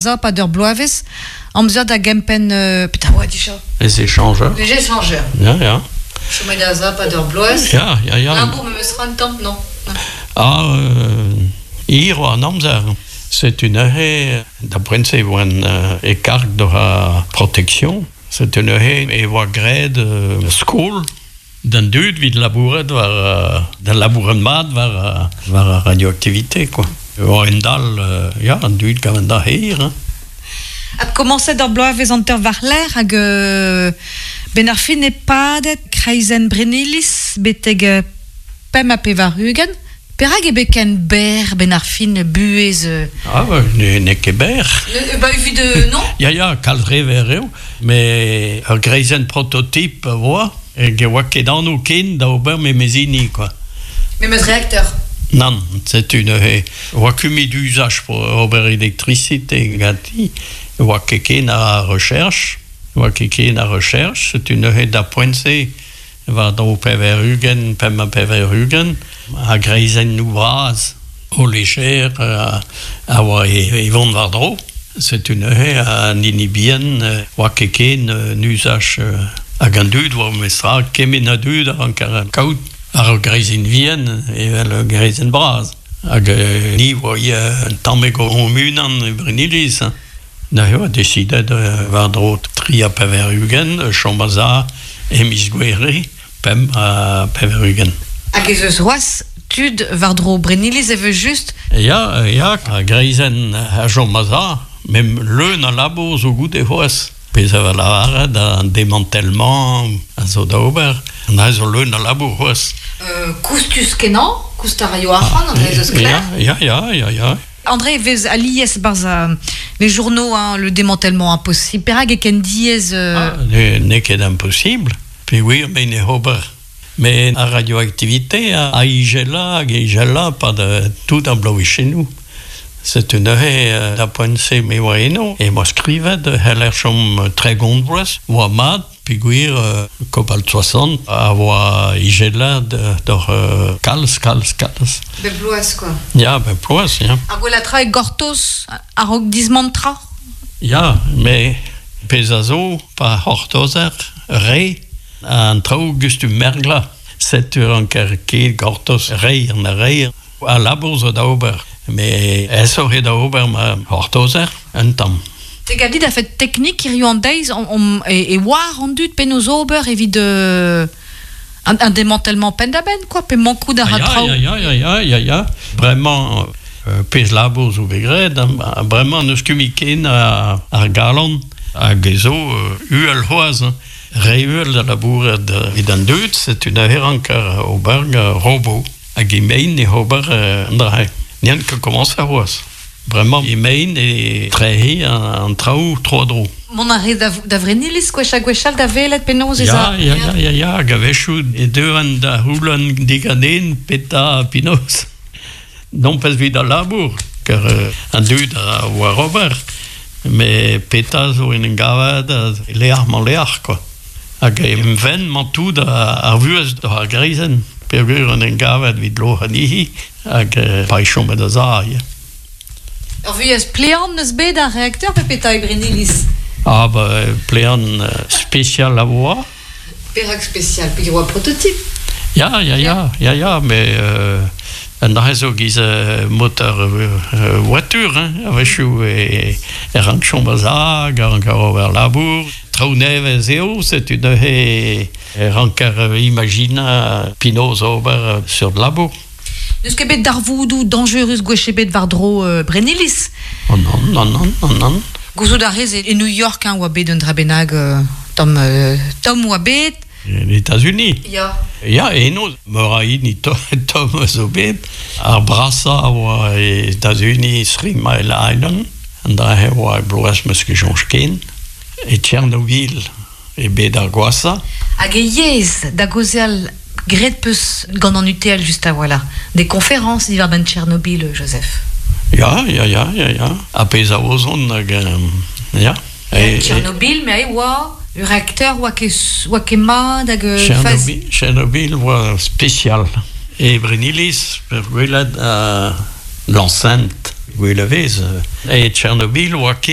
Pad ur bloavezh, amzer da gempenn... petra oa dija? Les échangeurs. Les échangeurs. Ya, ya. Chomet da za pad ur bloaz. Ya, ya, ya. Labour memes tra un tamm, non? Ah, hir oa an amzer. Setu neuze, da poent-se e oan e karg d'ober ar protection. Setu neuze e oa graet skol d'an dud evit labourat war da labourat mat war war ar radioactivité quoi. War un dal ya an dud gant an da hir hein. Adkomañset ur bloavezh hanter war-lerc'h hag benn ar fin eo padet kreizenn Brenniliz betek 85. Perak eo bet ken berr benn ar fin buhez Ah bah n'eo ket berr. Bah evit non? Ya ya, kalz re verr eo, met ur greizenn prototype a oa, hag e oa ket anv ken da ober memes hini quoi. Memes reakteur? Nann, setu neuze oa kumet uzaj ober elektrisite ganti, oa ket ken a recherche, oa ket ken a recherche, setu neuze da poent-se war-dro 80, 85, a greizennoù bras o lejer a oa e vont war-dro. Setu neuze an hini bihan oa ket ken un uzaj hag an dud oa memestra kement a dud a ranker kaout ar ur greizenn vihan evel ur greizenn bras. Hag ni oa ivez un tammig hon-unan e Brenniliz. Neuze oa desidet war-dro 83 chom a-za e miz Gouere 85. Hag ez eus c'hoazh tud war-dro Brenniliz evel-just? Ya, ya, ar greizenn a chom a-za, met leun a labour zo goude c'hoazh. Pezh a va lavaret, an démantèlement a zo da ober, an dra zo leun a labour c'hoazh. Koustus-kenañ, koust a raio arc'hant, an dra zo sklaer. Ya, ya, ya, ya. André vez alies barzh les journaux hein, le démantèlement impossible. Perak e ken diaes Ah, n'eo ket impossible, peogwir me ne ober. Mais ar radioactivité a ijela hag ijela pad tout ar bloavezhioù. Setu neuze da poent-se me oa eno e oa skrivet c'heller chom 30 vloaz, oa mat peogwir Cobalt 60 a oa ijelat doc'h kalz, kalz, kalz. Bep bloaz quoi. Ya, bep bloaz, ya. Ar gwellañ tra eo gortoz a-raok dismantrañ? Ya, met pezh a zo pa c'hortozer re an traoù gustum merglañ. Setu ranker ket gortoz reiñ an reiñ. Al labour zo da ober, met aesoc'h eo da ober ma c'hortozer un tamm. Te gav dit a-fet teknik hiziv an deiz e oar an dud penaos ober evit un démantèlement penn-da-benn quoi, pe mankout a ra traoù? Ya, ya, ya, ya, ya. Bremañ pezh labour zo bet graet, bremañ n'eus ket mui ken ar galon hag e zo uhel c'hoazh. Re uhel da labourat evit an dud, setu neuze ranker ober gant robot. Hag emaint e ober an dra-se. N'eant ket komañs c'hoazh. Bremañ emaint e trec'hiñ an traoù tro-dro. Mont a rez da Vrenniliz gwech ha gwechall da welet penaos ez a? Ya, ya, ya, ya, hag a-wechoù e deuan da c'houlenn diganen petra penaos. Nompas evit al labour, kar an dud a oar ober, met petra zo en em gavet lec'h-mañ-lec'h, quoi. Hag em fenn 'mañ tout ar vuhez doc'h ar greizenn peogwir on en gavet evit loc'hañ anezhi hag pa e chomet a-za ivez. Ur vuhez plean 'neus bet ar reakteur pe petra e Brenniliz? Ah ba plean spesial a oa. Perak spesial? Peogwir oa prototype? Ya, ya, ya, ya, ya, met an dra zo giz moteur voiture, hein, a-wechoù e rank chom a-za hag a rank ober labour. Traoù nevez eo, setu neuze e ranker imajinañ penaos ober seurt labour. N'eus ket bet darvoudoù dañjerus gwech ebet war-dro Brenniliz? Oh non, non, non, non, non. Gouzout a rez e New York hein, oa bet un dra bennak tamm, tomm oa bet. En États-Unis? Ya. Ya, eno, meur a hini tomm zo bet. Ar brasañ a oa e États-Unis, Three Mile Island. An dra-se oa e bloaz 'meus ket soñj ken. E Tchernobyl eo bet ar gwashañ. Hag e yezh da gaozeal graet 'peus gant an UTL just a-walc'h des conférences diwar-benn Tchernobyl, Joseph? Ya, ya, ya, ya, ya. Ar pezh a ozont hag ya. Tchernobyl, me e oa ur reakteur oa ket, oa ket mat hag Tchernobyl, Tchernobyl oa spesial. E Brenniliz, ur gwelet l'enceinte. Gwell a vez. E Tchernobyl oa ket.